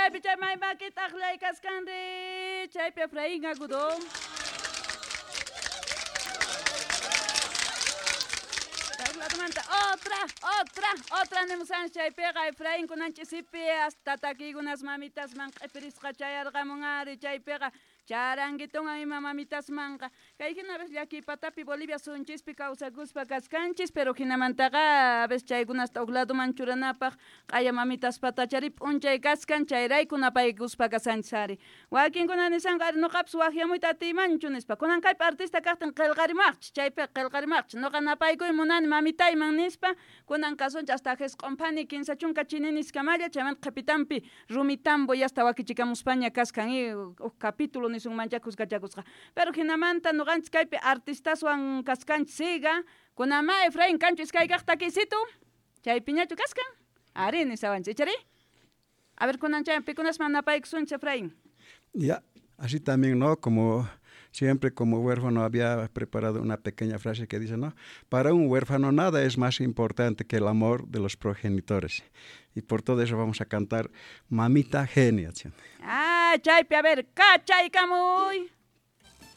Chaypi chay may makita aqlay kaskanri, chaypi Efraín Agudo. Manta otra, otra, otra nimusan chaypiqa Efraín kunan ch'isipi hasta takiykunas mamitasman q'ipirisqa chayarqamun ari chaypiqa charanguitunwan ima mamitasmanqa. Kay hina a veces llakiy patapi Bolivia sunchispi kawsakuspa kaskanchis, pero hinamantaqa a veces chaykunasta huk ladoman churanapaq q'aya mamitaspatachari p'unchay kaskan, chayrayku napaykuspa kasanchis ari. Wakinkuna nisanku ari nuqapis waqyamuyta atiymanchu nispa. Kunan kaypi artista kaqtin qillqarimaqchis, chaypiqa qillqarimaqchis. Nuqa napaykuy munani mamitayman nispa, kunan kasunchis hasta jisq'un phani 30 chininiskamalla, chaymanta qhipitanpi rumitambo yasta wakichikamuspaña kaskan y huk capítulo nisunmancha kuskachakusqa. Pero hinamanta nuqanchis kaypi artistaswan kaskanchis siga, kunan ma Efraín kanchu iskay kaq takiysitu, chaypiñachu kaskan? Ari nisawanchis, ichari? A ver, kunan chay pikunasman napaykusunchis, Efraín. Ya, así también, ¿no? Como siempre, como huérfano había preparado una pequeña frase que dice, ¿no? Para un huérfano nada es más importante que el amor de los progenitores. Y por todo eso vamos a cantar Mamita Genia. Ah, chaypi, a ver, cachaykamuy.